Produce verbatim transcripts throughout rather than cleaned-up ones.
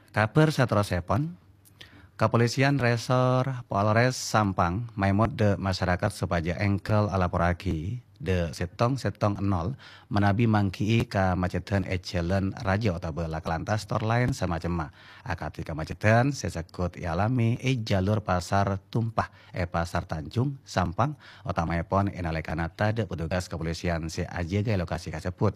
Kabhâr saterrossèpon, Kapolisian Resor Polres Sampang maèmot dâ' masyarakat sopajâ èngghâl alaporraghi dâ' sèttong sèttong nol manabi mangghi'i kamacedhân è jhâlân rajâ otabâ laka lantas tor laèn samacemma, akadhi kamacedhân sè segghut èalamè è jalur Pasar Tumpah è Pasar Tanjung, Sampang, otamaèpon è nalèkana tadâ' petugas kapolisian sè ajâgâ è lokasi kasebbhut.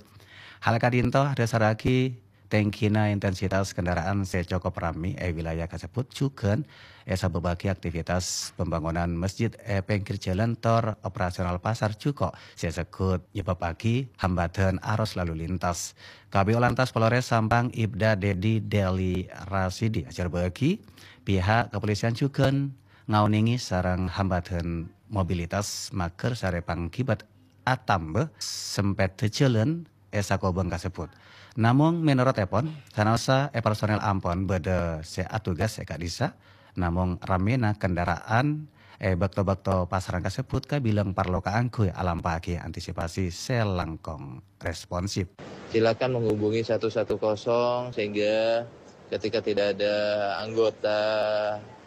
Hal ka'dinto adhâsarraghi tèngghina intensitas kendaraan sè cokop rammè è wilayah kasebbhut jhughân èsabâbbhâghi aktivitas pembangunan masjid è pèngghir jhâlân tor operasional pasar jhuko' sè segghut nyebâbbhâghi hambâdhân arus lalu lintas. Kabid Lantas Polres Sampang Ibda Dedi Deli Rasidi ajhârbâ'âghi, pihak kapolisian jhughân ngaonèngè sareng hambâdhân mobilitas maghâr sarè pangghibât atamba sempèdhâ jhâlân è sakobhâng kasebbhut. Namong mènorotèpon, sanaossa è personèl ampon bâdâ sè atugas è ka'dissa', namong rammèna kendaraan è bâkto-bâkto pasarân kasebbhut kabilang parlo kaangghuy alampa'aghi antisipasi sè langkong responsif. Silakan menghubungi satu satu kosong sehingga ketika tidak ada anggota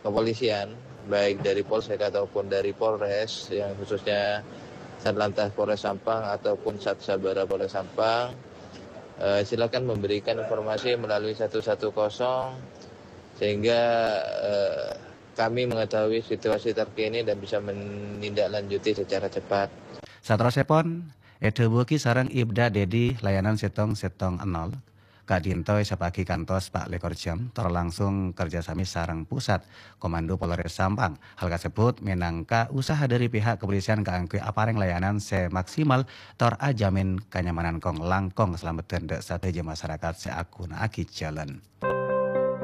kepolisian, baik dari Polsek ataupun dari Polres, yang khususnya Satlantas Polres Sampang ataupun Sat Sabara Polres Sampang, eh, silakan memberikan informasi melalui satu satu kosong sehingga eh, kami mengetahui situasi terkini dan bisa menindaklanjuti secara cepat. Saterrossèpon, èdhâbuwâghi sareng Ibda Dedi layanan sèttong sèttong nol ka'dinto èsapa'aghi kantos pa' lèkor jam, tor langsung kerjasami sareng Pusat Komando Polres Sampang. Hal kasebbhut mènangka usaha dâri pihak kapolisian kaangghuy aparèng layanan sè maksimal tor ajhâmin kanyamanan kong-langkong kasalameddhân dâ' sadhâjâ masyarakat sè aghunaaghi jhâlân.